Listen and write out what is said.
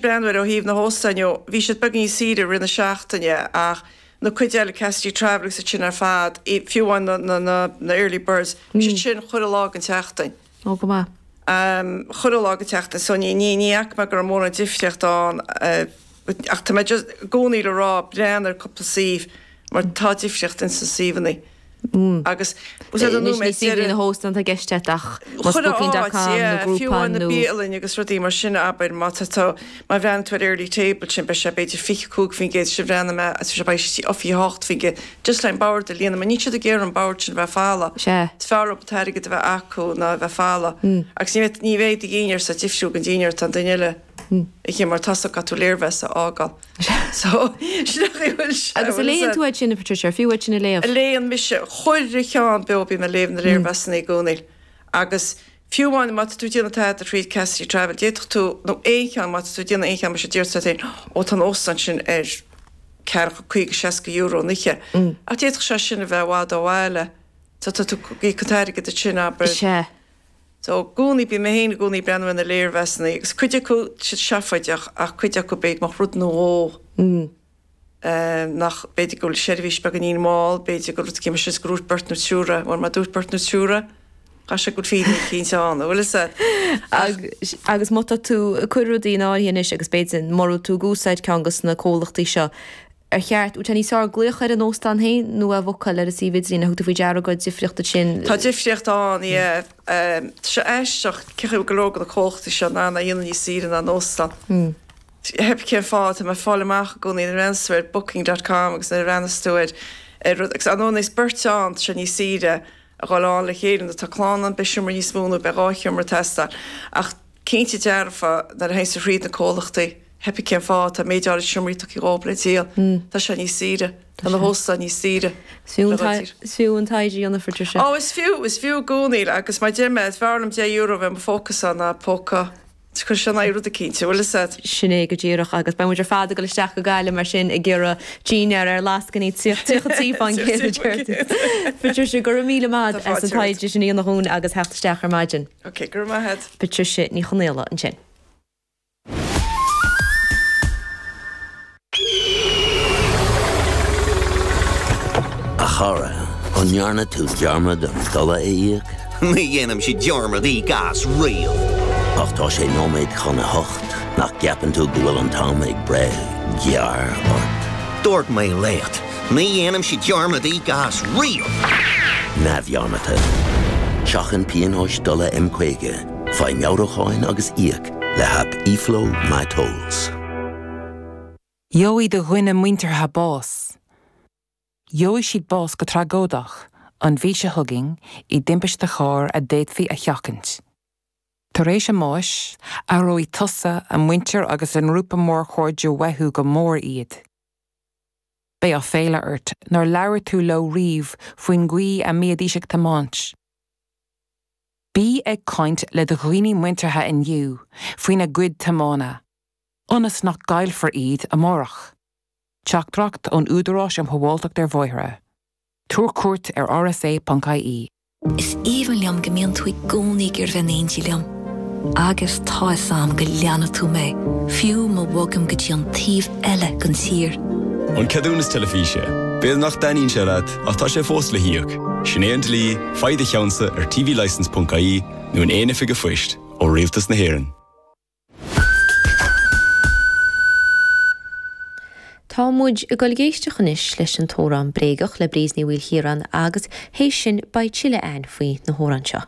Breathnú air ó thaobh na hóstáin ó bhí siad beagán níos saoire i rith na seachtaine ach na cuid eile, Cassidy Travel agus iad sin ar fad, fiú amháin na, na, na early birds, bhí siad sin chuile lá den tseachtain. Ó, go maith. Chuile lá den tseachtain so ní, ní, ní fhaca mé go raibh mórán difríocht ann ach tá mé just i gcónaí le rá breathnaigh ar cúpla suíomh mar tá difríocht ins na suíomhanna. Agus Anois ní suíomhanna na hóstán atá i gceist agat ach más Chuile booking dot áit, com nó yeah, fiú Groupon amháin na nó. bialainn agus rudaí mar sin, abair, má tá tú, má bhreathnaíonn tú ar Early Table sin, beidh sé b'fhéidir 25% sin bhreathnaigh mé, agus beidh sé 28%, just le an bord a líonadh, mar níl siad ag iarraidh an bord sin a bheith folamh. Sea. Is fearr leo an t-airgead a bheith acu ná a bheith folamh. Agus ní bheidh, ní bheidh do dhinnéar sa difriúil den dinnéar atá an duine eile ag ithe mar tá a fhios agat caithfidh tú léirmheas a fhágáil. So, sin é an chaoi a bhfuil sé. Agus an léann tú iad sin, a Patricia, ar fiú iad sin a léamh? Léann mise chuile cheann beo, bím ag léamh na léirmheasanna i gcónaí. Agus fiú amháin má tá tú ag déanamh tada thríd Cassidy Travel, d'fhéadfadh tú, nó aon cheann, má tá tú ag déanamh aon cheann mar sin, déarfá leat féin, ó tá an óstán sin ar ceathracha, 50, 60 euro an oíche. Ach d'fhéadfadh sé sin a bheith i bhfad ó bhaile. So tá tú ag íoc an t-airgead ansin, abair. Sea. So, i gcónaí, bím mé féin i gcónaí ag breathnú ar na léirmheasanna agus cuid acu, siad seafóideach ach cuid acu b'fhéidir go mbeadh rud nó dhó nach, b'fhéidir go bhfuil seirbhís beagáinín mall, b'fhéidir go rud éigin mar sin is gur dhúirt beirt nó triúr é, bhuel má dúirt beirt nó triúr é, caithfidh sé go bhfuil fírinne eicínt ann, an bhfuil fhios a'd? Ach. Agus má tá tú ag cur rudaí in áirithe anois agus b'fhéidir mura bhfuil tú ag úsáid ceann dos na comhlachtaí seo, Ar cheart, bhfuil sé níos fearr glaoch ar an óstán féin nó a bhookáil ar an suíomh idirlín? Ar thug tú faoi deara go raibh difríocht ansin? Tá difríocht ann, yeah. Tá sé aisteach cén chaoi a bhfuil go leor de na comhlachtaí seo in ann é a dhéanamh níos saoire ná an óstán. Pé bith cén fáth, tá mé ag fáil amach i gcónaí nuair a bhreathnas tú ar booking dot com agus nuair a bhreathnas tú ar ar rud, agus ar ndóigh is beirt ann, tá sé níos saoire a dhul ann le chéile nuair atá clann ann beidh seomra níos mó nó beidh 2 sheomra ag teastáil. Ach cinnte dearfa nuair a théanns tú thríd na comhlachtaí, pé bith cén fáth, tá méid áirid seomraí tugtha dhóibh le díol, tá sé níos saoire, tá na hóstáin níos saoire le dhul tír. Is fiú an taighde a dhéanamh, Patricia. Ó, is fiú, is fiú i gcónaí agus mar a deir mé, is fearr liom €10 a bheith i mo phóca-sa ná póca, cuir sé in aghaidh rud eicínt, an bhfuil fhios a'd. Sin é go díreach agus beidh muid ar fad ag dul isteach go Gaillimh mar sin ag iarraidh dinnéar ar lascainí 33 fán gcéad a deir tú. Patricia, go raibh míle maith Tá as an fáilte romhat. taighde sin a dhéanamh dhúinn agus theacht isteach ar maidin. Ok, go raibh maith a'd. Patricia Ní Chonaola ansin. A chara, an ndearna tú dearmad an dola a íoc? Ní dhéanaimse dearmad íoc as riamh. Ach tá sé nóiméad chun a hocht, nach gceapann tú go bhfuil an t-am ag breith gearr ort? Dúirt mé leat, ní dhéanaimse dearmad íoc as riamh! Neamhdhearmadta. Seachain pionóis dola M50, faigh meabhrúcháin agus íoc le haip eFlow MyTolls. Gheobhaidh do dhuine muinteartha bás. Gheobhaidh siad bás go tragóideach an mhí seo chugainn i dtimpiste chairr a d'fhéadfaí a sheachaint. Tar éis a mbáis, aireoidh tusa, a muintir agus a ngrúpa mór cairde uathu go mór iad. Beidh áiféala ort nár labhair tú leo riamh faoin gcaoi a mbídís ag tiomáint. Bí ag caint le do dhaoine muinteartha inniu faoina gcuid tiomána, ionas nach gcaillfear iad amárach. Teachtaireacht ón Údarás um Shábháilteacht ar Bhóithre. Tabhair cuairt ar rsa.ie. Is aoibhinn liom go mbíonn tú i gcónaí ag iarraidh bheith in éindí liom. Agus tá 'fhios a'm go leanfaidh tú mé, fiú má bhogaim go dtí an taobh eile den tír. An ceadúnas teilifíse. B'fhéidir nach dtaitníonn sé leat, ach tá sé fós le híoc. Sin é an dlí, faigh do cheannsa ar tvlicence.ie nó in aon oifig an phoist ó Rialtas na hÉireann. Tá muid ag dul ag éisteacht anois leis an t-amhrán Bréagach le Bríd Ní Mhaoilchiaráin agus théis sin beidh tuilleadh a'ainn faoi na hamhráin seo.